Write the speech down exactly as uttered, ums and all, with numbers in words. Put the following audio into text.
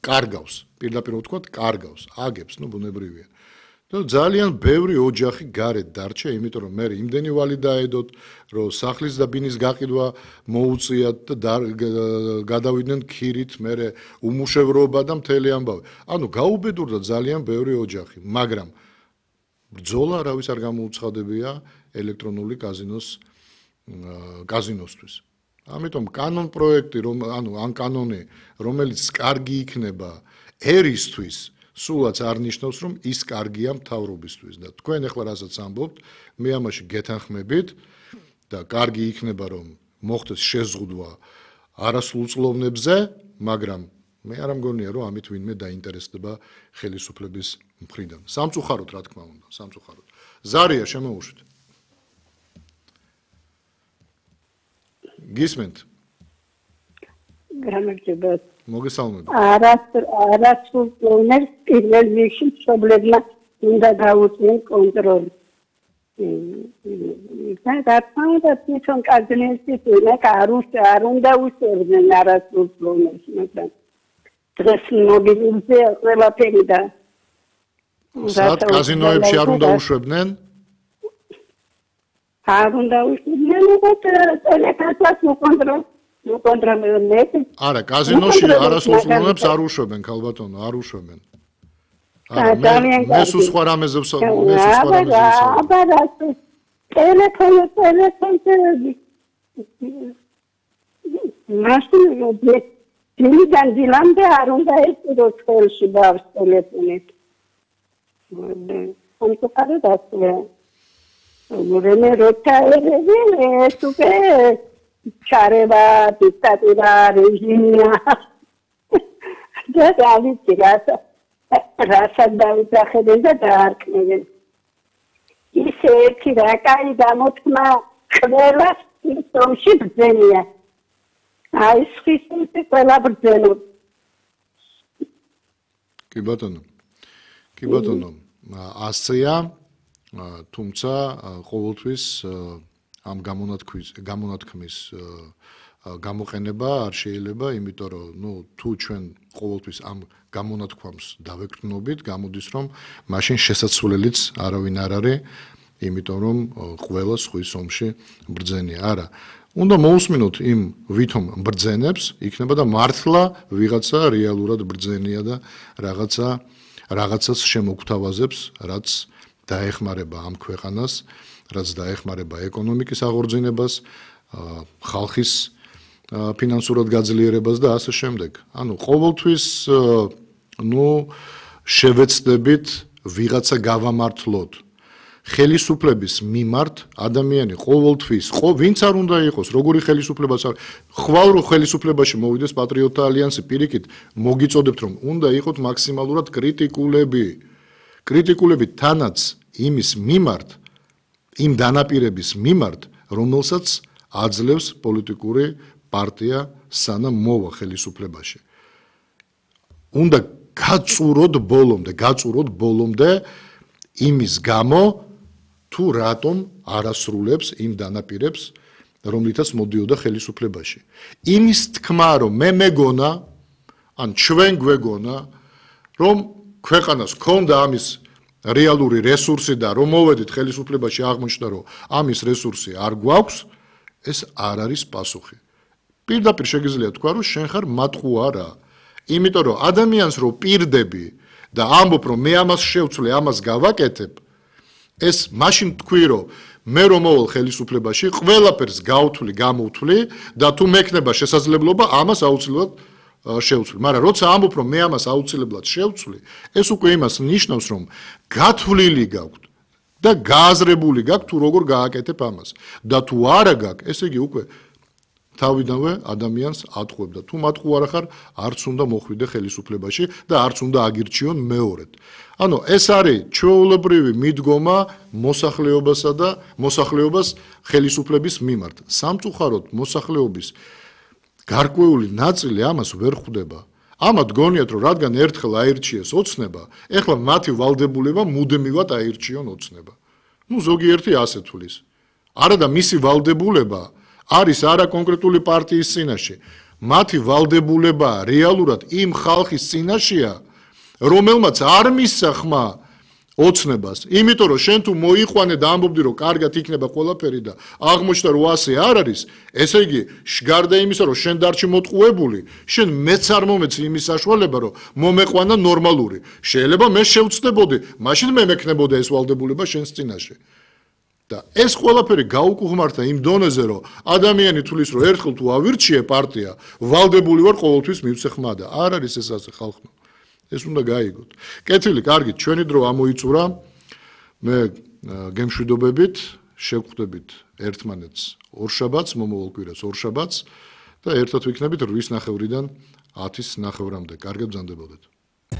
კარგავს, პირდაპირ ვთქვათ, კარგავს, აგებს, ნუ ბუნებრივია. და ძალიან ბევრი ოჯახი გარეთ დარჩა, იმიტომ რომ მე იმდენი ვალი დაედოთ, რომ სახლის და ბინის გაყიდვა მოუწიათ და გადავიდნენ ქირით, მე უმუშევრობა და მთელი ამბავი. ანუ გაუბედურდა ძალიან ბევრი ოჯახი, მაგრამ ბრძოლა არავის არ გამოუცხადებია ელექტრონული კაზინოს კაზინოსთვის. ამიტომ კანონ პროექტი, რომ ანუ ან კანონი, რომელიც კარგი იქნება ერისთვის, სულაც არ ნიშნავს, რომ ის კარგია მთავრობისთვის და თქვენ ახლა რასაც ამბობთ, მე ამაში გეთანხმებით და კარგი იქნება, რომ მოხდეს შეზღუდვა არასრულწლოვნებზე, მაგრამ მე არ მგონია, რომ ამით ვინმე დაინტერესდება ხელისუფლების მხრიდან. სამწუხაროდ, რა თქმა უნდა, სამწუხაროდ. ზარია, შემოუშვით. გისმენთ? გამარჯობა. მოგესალმებით. არასრულწლოვნებს პირველ რიგში მშობლებმა უნდა გაუწიონ კონტროლი. და თქმა უნდა, თვითონ კაზინოსის არ უნდა უშევდნენ არასრულწლოვნებს, მაგრამ დღეს მობილურზე ყველაფერი და სად კაზინოებში არ უნდა უშვებდნენ? არ უნდა უშვებდნენ, უბრალოდ ტელეკასას უკონტროლ უკონტროლებს. არა, კაზინოში არასრულწლოვნებს არ უშვებენ, ქალბატონო, არ უშვებენ. არა, მე სულ სხვა რამეზე ვსაუბრობ, მე სულ სხვა რამეზე ვსაუბრობ. აბა, ტელეფონი, ტელეფონი. მაშინ დილიდან დილამდე არ უნდა ეწიროს ხელში ბავს ტელეფონი. სამწუხაროდ ასეა. მერე როცა ეს უკვე ჩარევა, დიქტატურა, რეჟიმია. და დავიცი რასაც რასაც დავიძახებენ და დაარქმევენ. ისე ერთი რა კაი გამოთქმა ყველას ის ომში ბრძენია. აი ხისინი ყველა ბრძენობს. კი ბატონო. კი ბატონო, ასეა, თუმცა ყოველთვის ამ გამონათქმის გამონათქმის გამოყენება არ შეიძლება, იმიტომ რომ ნუ თუ ჩვენ ყოველთვის ამ გამონათქვამს დავეკრნობით, გამოდის რომ მაშინ შესაძლებლიც არავინ არ არის, იმიტომ რომ ყველა სხვის ომში ბრძენია. არა, უნდა მოусმინოთ იმ ვითომ ბრძენებს, იქნება და მართლა ვიღაცა რეალურად ბრძენია და რაღაცა რაღაცას შემოგთავაზებს, რაც დაეხმარება ამ ქვეყანას, რაც დაეხმარება ეკონომიკის აღორძინებას, ხალხის ფინანსურად გაძლიერებას და ასე შემდეგ. ანუ ყოველთვის ნუ შევეცდებით ვიღაცა გავამართლოთ. ხელისუფლების მიმართ ადამიანი ყოველთვის, ვინც არ უნდა იყოს, როგორი ხელისუფლებაც არ, ხვალ რო ხელისუფლებაში მოვიდეს პატრიოტთა ალიანსი, პირიქით მოგიწოდებთ, რომ უნდა იყოთ მაქსიმალურად კრიტიკულები. კრიტიკულები თანაც იმის მიმართ, იმ დანაპირების მიმართ, რომელსაც აძლევს პოლიტიკური პარტია სანამ მოვა ხელისუფლებაში. უნდა გაწუროთ ბოლომდე, გაწუროთ ბოლომდე იმის გამო, თუ რატომ არასრულებს იმ დანაპირებს, რომლითაც მოდიოდა ხელისუფლებაში. იმის თქმა, რომ მე მეგონა, ან ჩვენ გვეგონა, რომ ქვეყანას ქონდა ამის რეალური რესურსი და რომ მოვედით ხელისუფლებაში აღმოჩნდა, რომ ამის რესურსი არ გვაქვს, ეს არ არის პასუხი. პირდაპირ შეგიძლია თქვა, რომ შენ ხარ მატყუარა. იმიტომ რომ ადამიანს რო პირდები და ამბობ, რომ მე ამას შევცვლე, ამას გავაკეთებ, ეს მაშინ თქვი, რომ მე რომ მოვალ ხელისუფლებაში, ყველაფერს გავთვლი, გამოვთვლი და თუ მექნება შესაძლებლობა, ამას აუცილებლად შევცვლი. მაგრამ როცა ამბობ, რომ მე ამას აუცილებლად შევცვლი, ეს უკვე იმას ნიშნავს, რომ გათვლილი გაქვთ და გააზრებული გაქვთ, თუ როგორ გააკეთებ ამას. და თუ არა გაქვს, ესე იგი უკვე თავიდანვე ადამიანს ატყუებ და თუ მატყუარა ხარ, არც უნდა მოხვიდე ხელისუფლებაში და არც უნდა აგირჩიონ მეორედ. ანუ ეს არის ჩვეულებრივი მიდგომა მოსახლეობასა და მოსახლეობას ხელისუფლების მიმართ. სამწუხაროდ მოსახლეობის გარკვეული ნაწილი ამას ვერ ხვდება. ამათ გონიათ, რომ რადგან ერთხელ აირჩიეს ოცნება, ეხლა მათი ვალდებულება მუდმივად აირჩიონ ოცნება. ნუ ზოგიერთი ასე თვლის. არა და მისი ვალდებულება არის არა კონკრეტული პარტიის წინაშე, მათი ვალდებულება რეალურად იმ ხალხის წინაშეა, რომელმაც არ მისცა ხმა ოცნებას, იმიტომ რომ შენ თუ მოიყვანე და ამბობდი რომ კარგად იქნება ყველაფერი და აღმოჩნდა რომ ასე არ არის, ესე იგი გარდა იმისა რომ შენ დარჩი მოტყუებული, შენ მეც არ მომეცი იმის საშუალება რომ მომეყვანა ნორმალური. შეიძლება მე შევწდებოდი, მაშინ მე მექნებოდა ეს ვალდებულება შენს წინაშე. და ეს ყველაფერი გაუკუღმართა იმ დონეზე რომ ადამიანი თulis რომ ერთხელ თუ ავირჩიე პარტია, ვალდებული ვარ ყოველთვის მივცე ხმა და არ არის ეს ასე ხალხმა. ეს უნდა გაიგოთ. კეთილი, კარგი, ჩვენი დრო ამოიწურა. მე გემშვიდობებით, შევხვდებით ერთმანეთს ორშაბათს, მომავალ კვირას ორშაბათს და ერთად ვიქნებით რვის ნახევრიდან ათის ნახევრამდე. კარგად ბრძანდებოდეთ.